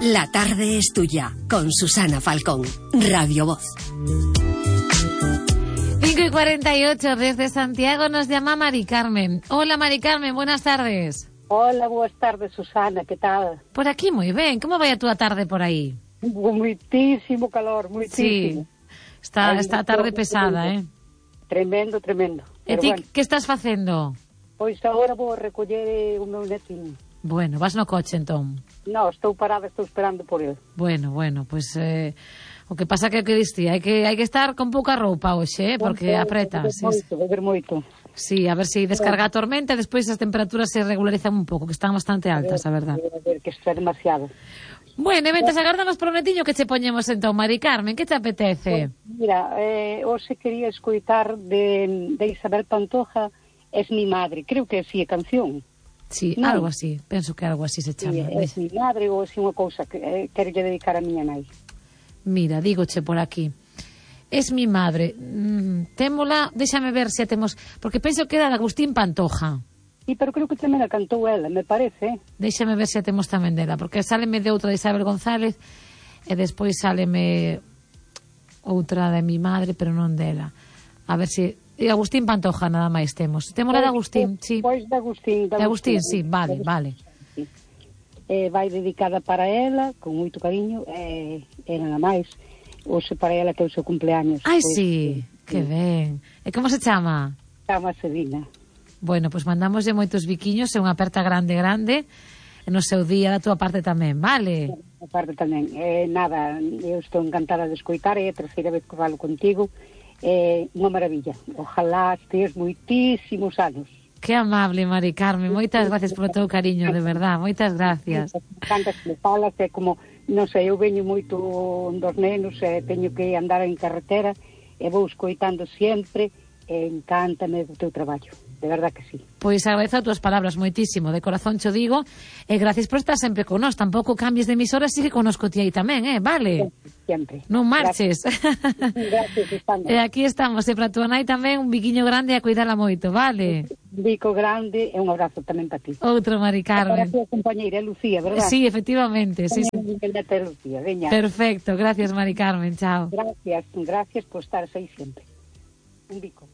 La tarde es tuya, con Susana Falcón, Radio Voz. 5:48, desde Santiago nos llama Mari Carmen. Hola Mari Carmen, buenas tardes. Hola, boas tardes, Susana, que tal? Por aquí moi ben, como vai a túa tarde por aí? Muitísimo calor, muitísimo. Sí, está a tarde pesada, Tremendo. E ti, que estás facendo? Pois agora vou recoller o meu netinho. Bueno, vas no coche entón. No, estou parada, estou esperando por ele. Bueno, pois o que pasa que diste, hai que estar con pouca roupa hoxe, porque apreta. Beber moito. Sí, a ver se descarga a tormenta e despois as temperaturas se regularizan un pouco, que están bastante altas, a verdad. A ver, que isto é demasiado. Bueno, e mentres agardamos por o netiño, que che poñemos entón, Mari Carmen, que te apetece? Pues, mira, hoxe quería escoitar de Isabel Pantoja, Es mi madre, creo que sí, é canción. Sí, no. Algo así, penso que algo así se chama. Sí, Es mi madre ou así unha cousa que quero dedicar a miña nai. Mira, dígoche por aquí. Es mi madre. Témola, déxame ver se a temos, porque penso que era de Agustín Pantoja. Sí, pero creo que tamén a cantou ela, me parece. Déxame ver se a temos tamén dela, porque sáleme de outra de Isabel González e despois sáleme outra de mi madre, pero non dela. A ver se... Agustín Pantoja nada máis temos. Témola de Agustín, sí. Pois de Agustín. De Agustín, sí, vale. Sí. Vai dedicada para ela, con moito cariño, e nada máis. Hoxe para ela que é o seu cumpleaños. Ai, pois, sí, que ben. E como se chama? Chama Sedina. Bueno, pois mandamoslle moitos biquiños e unha aperta grande, e no seu día da túa parte tamén, vale? A parte tamén. Nada, eu estou encantada de escoitar, é a terceira vez que falo contigo. Unha maravilla. Ojalá estes moitísimos anos. Que amable, Mari Carmen, moitas gracias polo teu cariño, de verdad, moitas gracias. Cantas que falas, é como, non sei, eu veño moito dos nenos, teño que andar en carretera, e vou escoitando sempre, encántame do teu traballo, de verdad que sí. Pois agradezo as túas palabras moitísimo, de corazón cho digo, e gracias por estar sempre con nós, tampouco cambies de emisora, sigue connosco ti aí tamén, vale? Sempre. Non marches. Gracias, estamos. E aquí estamos, e para túa nai tamén un biquiño grande a cuidala moito, vale? Un bico grande e un abrazo tamén para ti. Outro, Mari Carmen. Para a túa compañeira, Lucía, verdad? Sí, efectivamente, sí. Lucía, veña. Perfecto, gracias, Mari Carmen, chao. Gracias por estar aí sempre. Un bico.